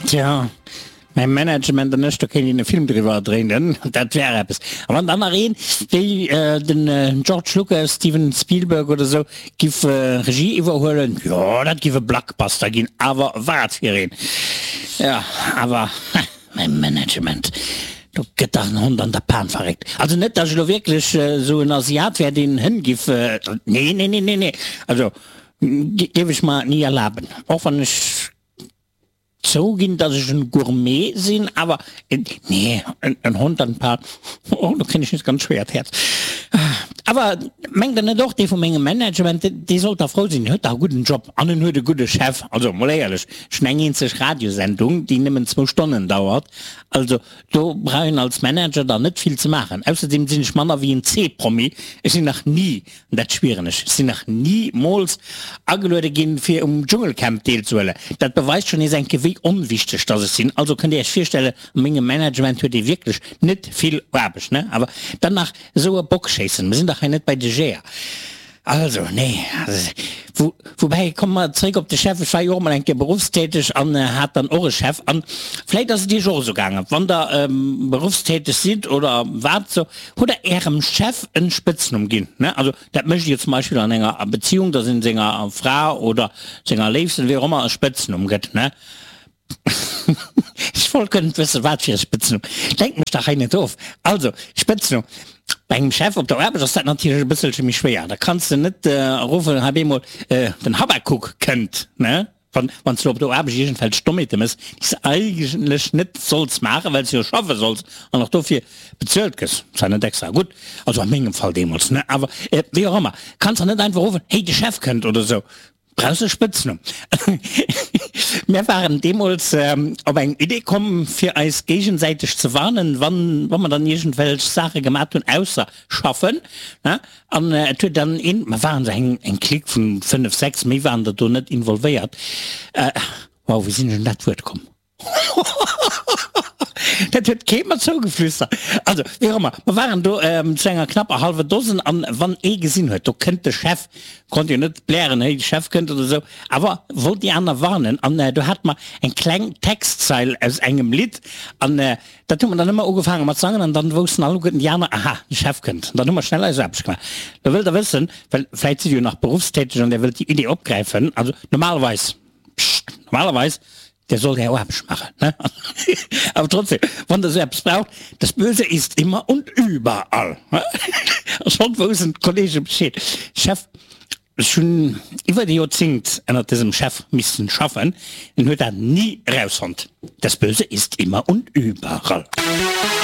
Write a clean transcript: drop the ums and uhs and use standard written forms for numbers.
Tja, mäi Management an ech, do kéint een e Film driwwer dréinen, dat wär eppes. A wann dann nach een wéi den George Lucas, Steven Spielberg oder sou giff Regie iwwerhuelen, jo, dat giff e Blockbuster ginn, awer wat fir een! Jo, awer mäi Management, do gëtt dach en Hond an der Pan verréckt. Also net, datt ech elo wierklech sou en Asiat wär, deen Hënn giff, nee, nee, nee, nee, nee, also géif ech mer ni erlaben, och wann ech Zouginn, dass ech en Gourmet sinn, awer nee, en Hond an Pan, oh, do kréien ech nees ganz schwéiert Häerz. Awer mengt der net och, dee vu mengem Management, dee sollt da frou sinn, en huet dach e gudden Job an en huet e gudde Chef. Also mol éierlech, ech hunn eng eenzeg Radiosendung, déi nëmmen zwou Stonnen dauert, also do brauch een als Manager dann net vill ze maachen. Ausserdeem sinn ech manner wéi en C-Promi, ech sinn nach ni An dat schwieren ech, ech sinn nach nimools ageluede ginn, fir um Dschungelcamp deelzehuelen. Dat beweist schonn nees eng Kéier, wéi onwichteg dass ech sinn. Also kënnt Dir Iech virstellen, a mengem Management huet ee wierklech net vill Aarbecht, ne? Awer dann nach esou e Bock schéissen, mer sinn dach hei net bei de Jeeër. Also, nee. Wou, woubäi, komme mer zréck op de Chef, ech war jo och emol eng Kéier beruffstäteg an hat dann och e Chef. An vläit ass et Iech och esou gaangen, wann Der beruffstäteg sidd oder wat esou, Hutt der ärem Chef en Spëtznumm ginn? Ne? Also dat mécht dir zum Beispill an enger Beziehung, dass een senger Fra oder senger Léifsten, wéi och ëmmer, e Spëtznumm gëtt, ne? Ech wollt guer net wëssen, wat fir e Spëtznumm. Lenkt mech dach hei net of. Also, Spëtznumm. Bei engem Chef op der Aarbecht ass dat natierlech e bësselche méi schwéier. Da kanns de net ruffen, hei bemol, den Habakuk kënnt, ne? Wann wann s du op der Aarbecht iergendwelch Dommheete mëss, déi s de eigentlech net solls maachen, well s jo schaffe solls an och dofir bezuelt gëss, zwar net extra gutt, also a mengem Fall deemools, ne, awer wéi och ëmmer, kanns der net einfach ruffen, hey, de Chef kënnt oder esou. Brauchs e Spëtznumm. Mir waren deemools op eng Idee komm, fir eis géigesäiteg ze warnen, wann wa mer dann iergendwelch Saache gemat hunn, ausser schaffen, ne, An et huet dann een, mer waren esou eng eng Clique vun 5, 6, méi waren der do net involvéiert, wow, wéi sinn ech un dat Wuert komm? Dat huet kee mer zougeflüstert. Also, wéi och ëmmer, mer waren do zu enger knapper hallwer Dosen an wann ee gesinn huet, do kënnt de Chef, konnt jo net blären, héi, de Chef kënnt oder esou, awer wollt déi aner warnen an do hate mer eng kleng Textzeil aus engem Lidd an Dat hu mer dann ëmmer ugefaange mat sangen an dann woussten alleguerten déi aner, aha, de Chef kënnt. An dann hu mer schnell eis Aarbecht gemaach. Lo wëllt Der wëssen, well vläit sidd Dir jo nach beruffstäteg an Der wëllt déi Idee opgräifen, also normalerweis, psscht, normalerweis, Der sollt Är Aarbecht maachen, ne? Awer trotzdem, wann Der esou eppes braucht, das Böse ist immer und überall, ne? A schonn woussten d'Kollege Bescheed. Chef, Ech hunn iwwert e Joerzéngt ënnert dësem Chef missten schaffen, en huet dat ni erausfonnt. Das Böse ist immer und überall.